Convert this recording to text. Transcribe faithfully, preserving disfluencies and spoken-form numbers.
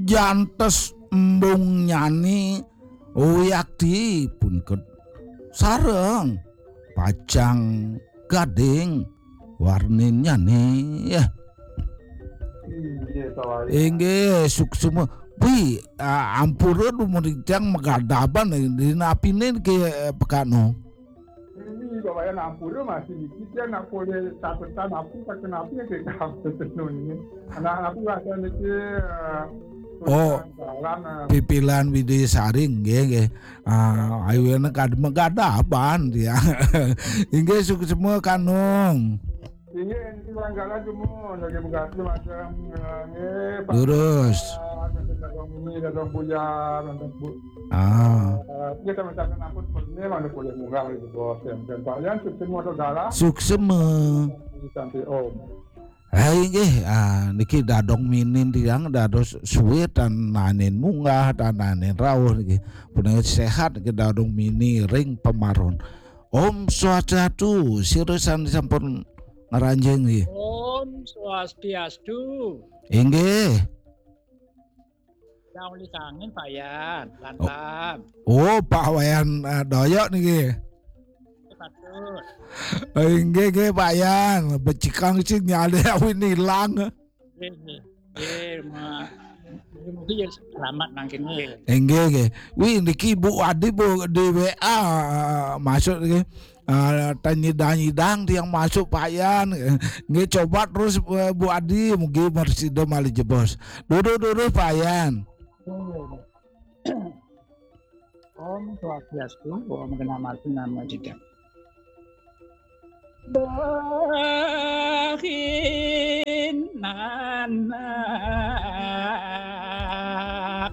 jantos embungnyane wiakti punika sareng pacang gading warninnyane. Inggih, suksma. Wi, ah, ampura dumun titiang magadaban dina apine ke, eh, pekano. Ini Bapak Yan ampura masih niki dia nak boleh catatan apa kata nabi ke kampus niki. Anak aku rasa niki, eh, Oh, jalan, eh. Pipilan Widisari nggih, nggih. Ah, ayo enak kad-, magadaban dia. Inggih suksma kanung. Inggih, ini barangkali cuma lagi begaduh macam, eh, nggih, Pak. Lurus. Nanti dadong ini, dadong buyar, nanti bu-, Ah. Eh, kita minta ampun, pernah mana boleh munggah lagi, Bos. Dan Pak Yan, suksma atau galah? Suksma. Sampai Om. Ha inggih, ah, niki dadong minin tiang dados suwe tan nanin munggah, tan nanin rauh niki. Punika sehat niki dadong mini ring pamaron. Om Swastiastu, sira sane sampun ngranjing nggih. Om Swastiastu. Inggih. Daun lisangin Pak Yan, lantam. Oh, Pak Wayan, eh, Doyok niki. Patut. Eh, inggih, inggih, Pak Yan. Becikang sing nyale awin ilang. Nggih, nggih. Nggih, ma-, nggih, mungkin ya selamat nang kene. Inggih, inggih. Wi, niki Bu Adi, Bu, di W A, eh, masuk niki. Ah, tanyidang-nyidang tiang masuk Pak Yan. Nggih, coba terus, eh, Bu Adi, mugi marsida malih jebos. Duduh, duduh, Pak Yan. Om Swastiastu, Om Gena Martina Majida. Bahinana.